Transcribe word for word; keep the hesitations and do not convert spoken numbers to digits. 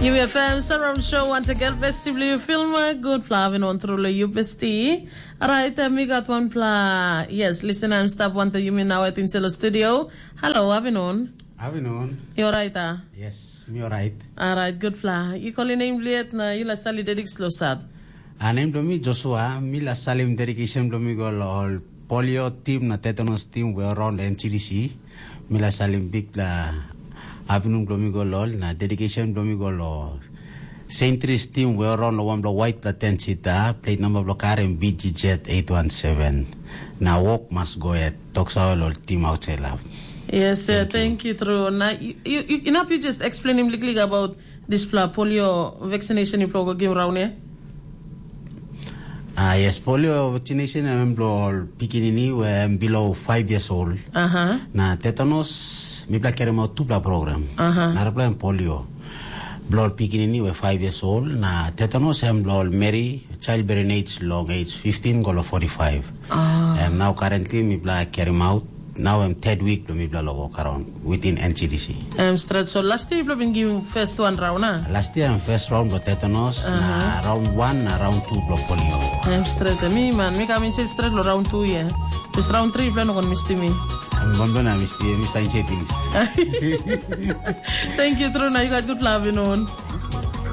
Yu F M Surround Show, wantagen besti bilong yu, Filma. Gutpela avinun tru long yu, besti. Orait, uh, mi gat wanpela, yes, listener em stap wantaim yumi naoit inside the studio. Hello, avinun. Avinun. Yu orait, a? Yes, mi orait. Orait, gutpela. Yu kolim nem bilong yet na yu laik salim dedication long husat? A, nem bilong mi Joshua, mi laik salim dedication bilong mi go long ol polio tim na tetanus tim we around N C D C. Mi laik salim bikpela avinun bilong mi go long ol, na dedication bilong mi go long Saint Tris tim we around long wanpela waitpela ten sita, plate namba bilong kar em B G Z eight one seven. Na wok mas go yet, toksawa long tim autsait lap. Yes, uh, thank you, true. Na you, you, you, inap you just explainim liklik about dispela polio vaccination yupela go givim raun ya? Ah, yes, polio vaccination em bilong ol pikinini we em below five years old. Aha. Na tetanus, mipela kerim out tupela program. Aha. Narapela em polio. Bilong ol pikinini we five years old, na tetanus em bilong ol meri, childbearing age long age fifteen go long forty-five. Ah. Em nau currently mipela kerim out, nau em third week bilong mipela long wok around within N C D C. Em stret, so last year yupela bin givim first one round, a? Last year em first round bilong tetanus, na round one na round two bilong polio. Em stret, mi man, mi kam insait stret long round two ya. Bes round three yupela no kon mistim mi. Em bombe na mistim, mi sa insait pinis. Thank you, true, na you got good love, you know.